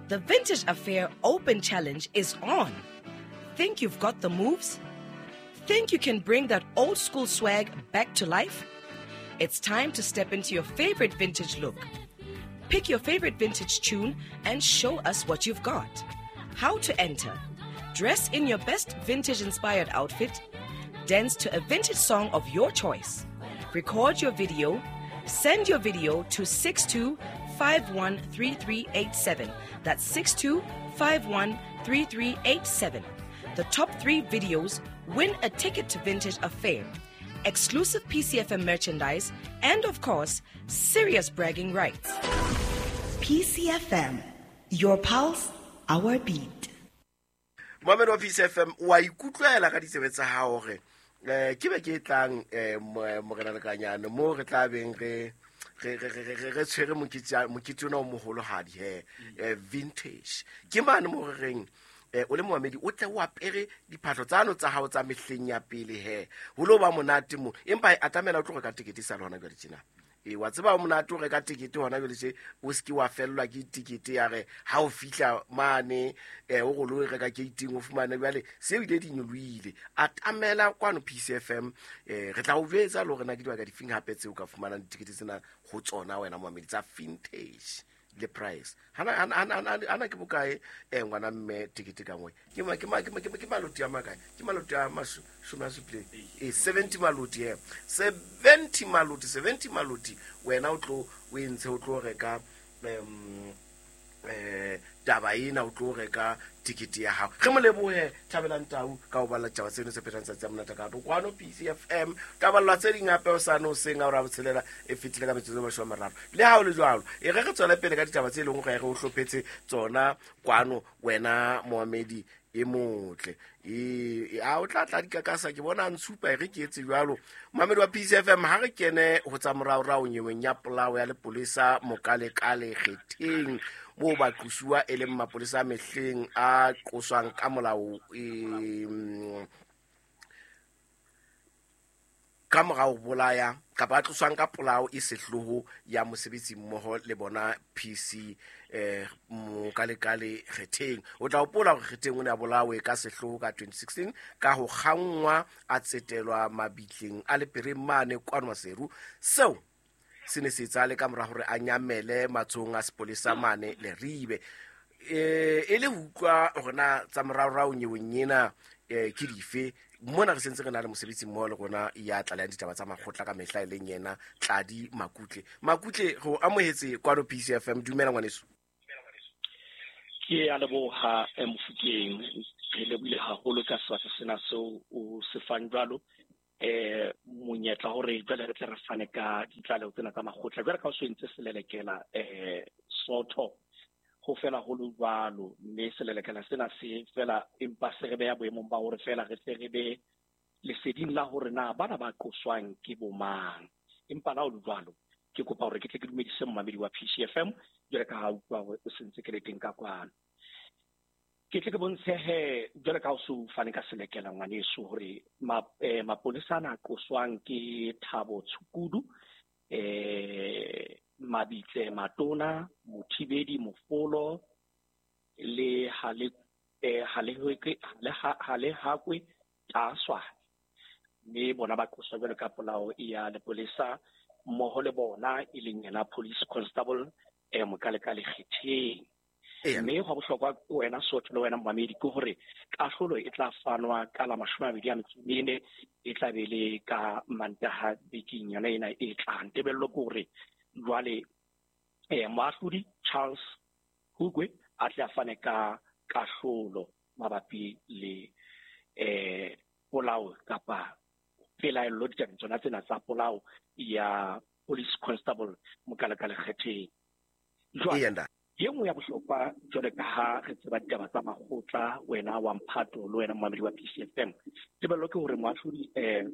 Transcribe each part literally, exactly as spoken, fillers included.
The Vintage Affair Open Challenge is on. Think you've got the moves? Think you can bring that old school swag back to life? It's time to step into your favorite vintage look. Pick your favorite vintage tune and show us what you've got. How to enter? Dress in your best vintage inspired outfit. Dance to a vintage song of your choice. Record your video. Send your video to six two five one three three eight seven. That's six two five one three three eight seven. The top three videos win a ticket to Vintage Affair, exclusive P C F M merchandise, and of course, serious bragging rights. P C F M, your pulse, our beat. Mohammed wa P C F M, wa ikutlwela ka ditsebe tsa hao hore, eh, ke be ke tlang, eh, mo-, morena Lekanyane, mo re tla beng re, re, re, re, re, re tshwere mokete, mokete ona o moholohadi he, eh, vintage. Ke mane mo re reng, eh, o le moamedi, o tle o apere diphahlo tsano tsa hao tsa mehleng ya pele he. Ho lo ba monate mo. Empa e atamela o tlo reka tekete sa le hona jwale tjena. E, wa tseba o monate o reka tekete hona jwale tje, o se ke wa fellwa ke tekete ya re ha o fihla mane, eh, o re o lo e reka gate-ing, o fumane jwale se ebile di nyolohile. Atamela kwano P C F M, eh, re tla o jwetsa le hore na ke dibaka difeng hape tseo o ka fumanang ditekete tsena ho tsona wena moamedi tsa vintage le price. Hana, hana, hana, hana, hana ke bokae, eh, ngwana mme tekete ka nngwe? Ke ma, ke ma, ke ma, ke ma, ke maloti a makae? Ke maloti a maso-, shome a supileng. Eh, seventy maloti, eh. seventy maloti, seventy maloti. Wena o tlo, o e ntshe, o tlo reka, em, eh, taba ena, o tlo reka tekete ya hao. Re mo lebohe Thabelang Tau ka ho balla ditaba tseno tse phethang tsatsi ya monate ka kwano P C F M. Ka ballwa tse ding hape hosane hoseng ha ora botshelela e fetile ka metsotso e mashome a mararo. Le ha ho le jwalo, e re re tswele pele ka ditaba tse leng hore re o hlophetse tsona kwano wena moamedi e motle. E, e, a o tla tla dikakasa, ke bona a ntshupa e re ke etse jwalo. Moamedi wa P C F M, ha re kene ho tsa moraorao nyeweng ya polao ya lepolesa Mokalekale Kgetheng, moo baqosuwa e leng mapolesa a mehleng a qoswang ka molao, e, ka mora ho bolaya kapa a tloswang ka polao e sehloho ya mosebetsi mmoho le bona P C, eh, Mokalekale Kgetheng. O tla hopola hore Kgetheng o ne a bolawe ka sehloho ka twenty sixteen ka ho kgangwa a tsetelwa mabitleng a Lepereng mane kwano Maseru. Seo se ne se etsahale ka mora hore a nyamele matsohong a sepolesa mane Leribe. Eh, e le ho utlwa hore na tsa moraorao nyeweng ena, eh, ke dife, mona re sentse re na le mosebetsi mmoho le rona ya tlalehang ditaba tsa makgotla ka mehla e leng yena Tladi Makutle. Makutle, re o amohetse kwano P C F M. Dumela ngwaneso. Ke a leboha, eh, Mofokeng. Re lebohile haholo ka sebaka sena seo o se fang jwalo. Eh, monyetla hore jwale re tle re fane ka ditlaleho tsena tsa makgotla. Jwale ka o so entse selelekela, eh, Soto, ho fela ho le jwalo, mme selelekela sena se fela empa se re beha boemong ba hore fela re tle re be leseding la hore na bana ba qoswang ke bo mang. Empa la ho le jwalo, ke kopa hore ke tle ke dumedise momamedi wa P C F M, jwale ka ha utlwa hore o sentse ke le teng ka kwano. Ke tle ke bontshe he, jwale ka ha o so fane ka selekela ngwaneso hore ma-, eh, mapolesa ana a qoswang ke Thabo Tshukudu, eh, Mabitle Matona, Mothibedi Mofolo le Hale, eh, Hale, Hale, Hale Hakwe Taswa. Mme bona ba qoswa jwalo ka polao ya lepolesa mmoho le bona e leng yena police constable, eh, Mokalekale Kgetheng. Eya. Mme hwa bohlokwa wena Sotho le wena momamedi ke hore kahlolo e tla fanwa ka la mashome a mabedi a metso e mene, e tla be le ka Mantaha bekeng yona ena e tlang. Tebello ke hore jwale, eh, moahlodi Charles Hugwe a tle a fane ka kahlolo mabapi le, eh, polao kapa pelaello ditabeng tsona tsena tsa polao ya police constable Mokalekale Kgetheng. Jwale, Eya, ntate. ye nngwe ya bohlokwa jwale ka ha re tseba ditaba tsa makgotla, wena wa Mphato le wena momamedi wa P C F M, tebello ke hore moahlodi, eh,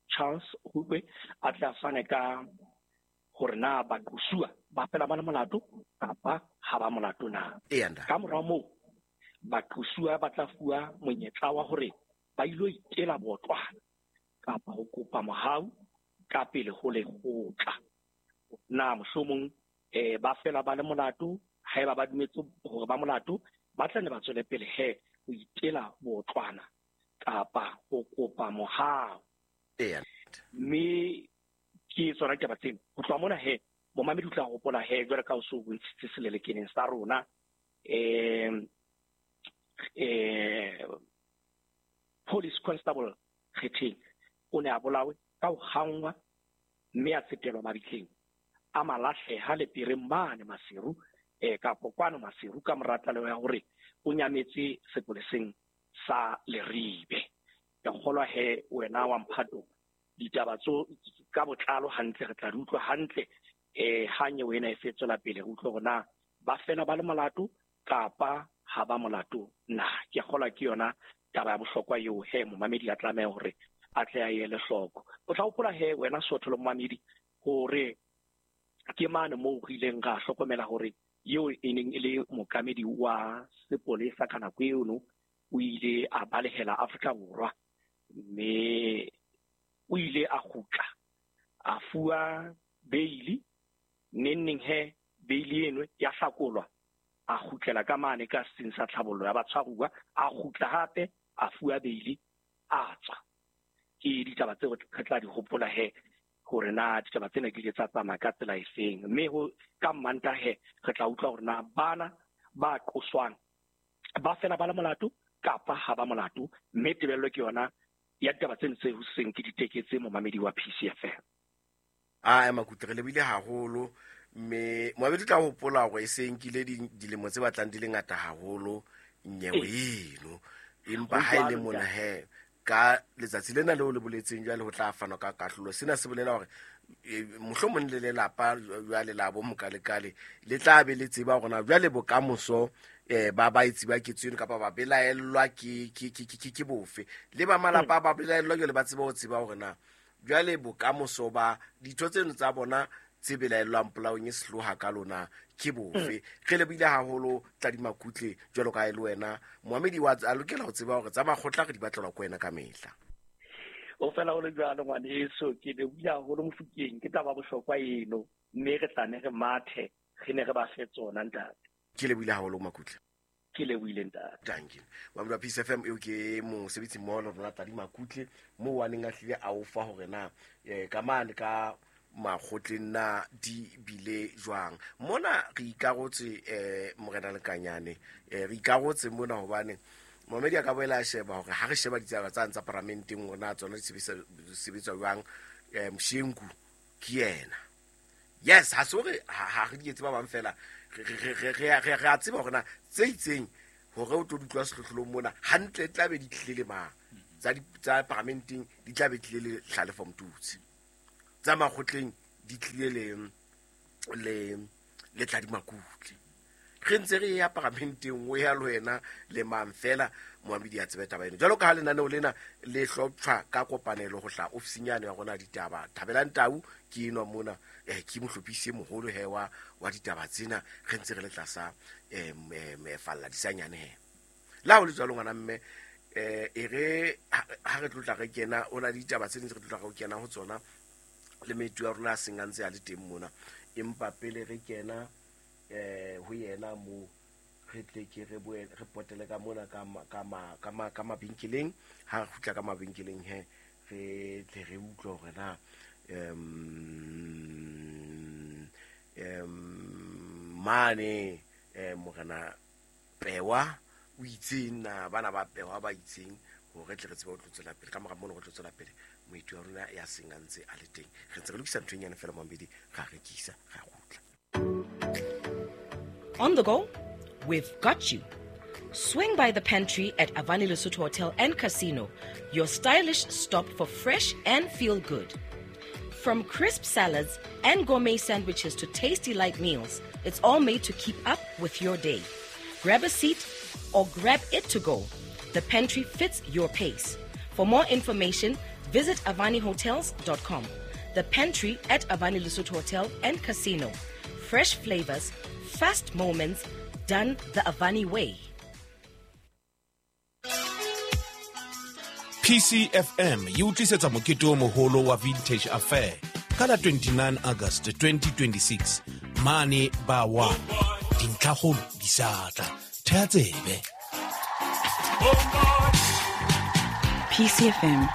Charles Hugwe a tle a fane ka hore na baqosuwa ba fela ba le molato kapa ha ba molato na. Eya, ntate. Ka mora moo, baqosuwa ba tla fuwa monyetla wa hore ba ilo itela botlwana kapa ho kopa mohau ka pele ho lekgotla. Na mohlomong, eh, ba fela ba le molato, ha Haeba ba dumetse hore ba molato, ba tla ne ba tswele pele he ho itela botlwana kapa ho kopa mohau. Eya. Mme ke tsona ditaba tseno. Ho tloha mona he, momamedi o tla hopola he jwalo ka o so bontshitse selelekeneng sa rona, eh eh Police Constable Kgetheng o ne a bolawe ka ho hangwa mme a tsetelwa mabitleng a malahleha lepireng mane Maseru, eh kapo kwano Maseru, ka mora tlaleho ya hore o nyametse sepoleseng sa Leribe. Ke kgolwa he wena wa mphato ditaba tso ka botlalo hantle re tla di utlwa hantle eh ha nyewe ena e fetswela pele, re utlwe hore na ba fela ba le molato kapa ha ba molato na. Ke kgolwa ke yona taba ya bohlokwa eo he momamedi a tlameha hore a tle a ele hloko. O tla hopola he wena Sotho le momamedi hore ke mane moo re ileng ra hlokomela hore eo e neng e le mookamedi wa sepolesa ka nako eno o ile a balehela Afrika Borwa, mme o ile a kgutla a fuwa beili. Neng neng he beili eno ya hlakolwa, a kgutlela ka mane ka setsing sa tlhabollo ya batshwaruwa, a kgutla hape a fuwa beili, a tswa. Ke ditaba tseo re tla di hopola he hore na ditaba tsena di ile tsa tsamaya ka tsela efeng. Mme ho ka Mmantaha he re tla utlwa hore na bana ba qoswang ba fela ba le molato kapa ha ba molato, mme tebello ke yona ya ditaba tseno tse hoseng ke diteketse momamedi wa P C F M. A ema kutle re lebile haholo, mme moabedi tla hopola hore e se nkile dilemo tse batlang di le ngata haholo nyewe eno, empa ha e le mona he ka letsatsi lena leo le boletseng jwale ho tla fanwa ka kahlolo. Sena se bolela hore mohlomong le lelapa jwale la bo mokalekale le tla be le tseba hore na jwale bokamoso eh ba ba itse ba ketso eno kapa ba belaellwa ke ke ke ke ke bofe, le ba malapa ba belaellwa jwale ba tseba ho tseba hore na jwale bokamoso ba ditho tseno tsa bona tse belaellwang polaong e sehloha ka lona ke bofe. Re lebile haholo Tladi Makutle jwalo ka e le wena moamedi wa a lokela ho tseba hore tsa makgotla re di batlelwa ko wena ka mehla. O fela ho le jwalo ngwaneso, ke lebohile haholo Mofokeng, ke taba bohlokwa eno, mme re tla ne re mathe re ne re ba fe tsona ntate. Ke lebohile haholo Makutle. Ke lebohile ntate. Thank you. Wa P C F M eo ke mosebetsi mmoho le rona Tladi Makutle moo a neng a hlile a o fa hore na ka mane ka makgotleng na di bile jwang. Mona re ikarotse eh morena Lekanyane, eh re ikarotse mona hobane momedi a ka boela a sheba hore ha re sheba ditaba tsa ntsa paramenteng rona tsona di sebetsa jwang. Eh Mshengu ke yena. Yes, ha se hore ha re di etse ba bang fela, re re re re a tseba hore na tse itseng hore o tlo utlwa sehlohlolong mona hantle e tla be di tlile le mang tsa tsa paramenteng di tla be tlile le Hlalefo Motutsi, tsa makgotleng di tlile le le le Tladi Makutle. Re ntse re ya paramenteng o ya le wena le mang fela moamedi a tsebe taba eno. Jwalo ka ha lenaneo lena le hloptjhwa ka kopanelo ho hla ofising yane ya rona ditaba Thabelang Tau ke enwa mona, eh ke mohlophisi moholo he wa wa ditaba tsena, re ntse re le tlasa eh falla disanyane he. La ho le jwalo ngwana mme eh e re ha re tlotla re kena o na ditaba tse ding re tlotla re kena ho tsona le metu ya rona a seng a ntse a le teng mona, empa pele re kena eh ho yena mo re tle ke re boe re potele ka mona ka ka ka ka mabenkeleng. Ha re kgutla ka mabenkeleng he re tle re utlwe hore na em em mane eh morena Pewa o itseng na bana ba Pewa ba itseng hore tle re tsebe ho tlo tswela pele ka mora mono re tlo tswela pele moeti wa rona ya seng a ntse a le teng. Re ntse re lokisa ntho e nyane fela mambedi ra rekisa ra kgutla. On the go, we've got you. Swing by the pantry at Avani Lesotho Hotel and Casino, your stylish stop for fresh and feel good. From crisp salads and gourmet sandwiches to tasty light meals, it's all made to keep up with your day. Grab a seat or grab it to go. The pantry fits your pace. For more information, visit avani hotels dot com. The pantry at Avani Lesotho Hotel and Casino. Fresh flavors, fast moments, done the Avani way. P C F M e o tlisetsa mokete o moholo wa Vintage Affair ka la twenty-nine August twenty twenty-six mane ba wa. Dintlhakgolo di sa tla. Thea tsebe. P C F M,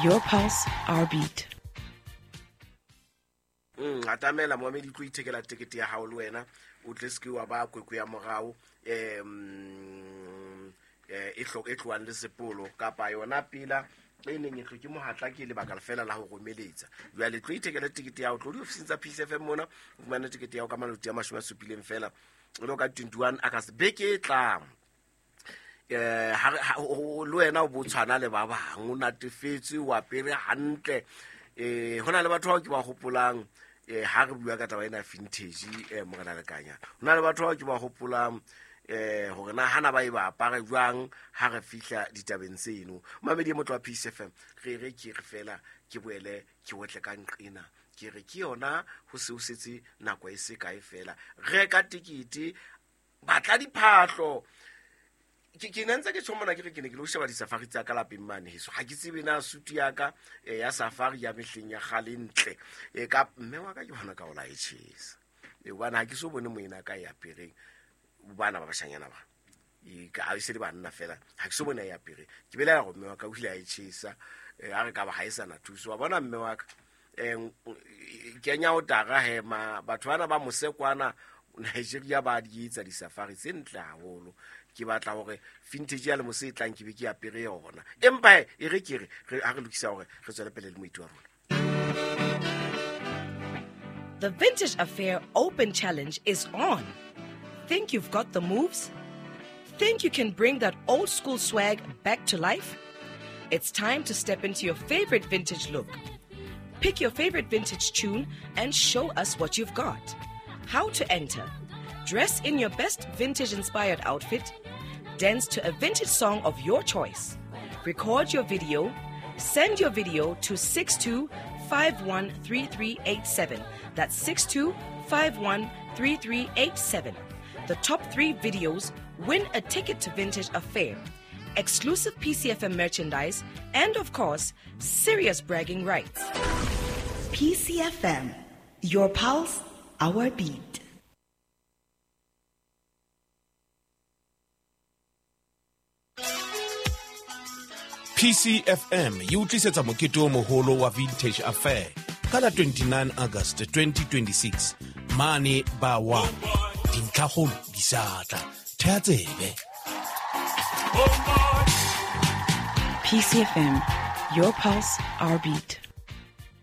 your pulse, our beat. Mm, atamela moamedi tlo ithekela tekete ya hao le wena o tle se ke wa ba kwekwe ya morao em e hlo e tloang le sepolo kapa yona pila e neng e tlo ke mohatla ke lebaka fela la ho romeletsa. Jwale tlo ithekela tekete ya hao, tlo diofising tsa P C F M mona o fumane tekete ya hao ka maloti a mashome a supileng fela o lo ka twenty-one August beke e tlang. Eh ha le wena o bo tshwana le ba bang o natefetse o apere hantle. Eh hona le batho bao ke ba hopolang eh ha re bua ka taba ena vintage eh morena Lekanya. Hona le batho bao ke ba hopolang eh hore na hana ba e ba apare jwang ha re fihla ditabeng tseno. Mamedi motho wa P C F M re re ke re fela ke boele ke wetle ka nqena ke re ke yona ho se o setse nako e se kae fela reka tikete batla diphahlo. Ke ke ntse ke tshomona ke re ke ne ke lo sheba di-safari tsa ka lapeng mane heso. Ha ke tsebe na suit ya ka ya safari ya mehleng ya kgale ntle. E ka mme wa ka ke bona ka o la e tjhesa. E hobane ha ke so bone moena ka ya apereng bana ba bashanyana ba. E ka ha e se le banna fela ha ke so bone ya apereng. Ke belaela hore mme wa ka o ile a e tjhesa. A re ka ba ha e sana thuso. Wa bona mme wa ka eh kenya o tara hema batho bana ba mosekwana Nigeria ba di etsa di-safari tse ntle haholo. Ke batla hore vintage ya le mose e tlang ke be ke apere yona. Empa e re ke re ha re lokisa hore re tswele pele le moeti wa rona. The Vintage Affair Open Challenge is on. Think you've got the moves? Think you can bring that old school swag back to life? It's time to step into your favorite vintage look. Pick your favorite vintage tune and show us what you've got. How to enter? Dress in your best vintage-inspired outfit. Dance to a vintage song of your choice. Record your video. Send your video to six two five one three three eight seven. That's six two five one three three eight seven. The top three videos win a ticket to Vintage Affair, exclusive P C F M merchandise, and of course, serious bragging rights. P C F M, your pulse, our beat. P C F M e utlisetsa mokete o moholo wa Vintage Affair ka la twenty-nine August twenty twenty-six mane ba wa dintlhakgolo di sa tla. Thea tsebe. P C F M, your pulse, our beat.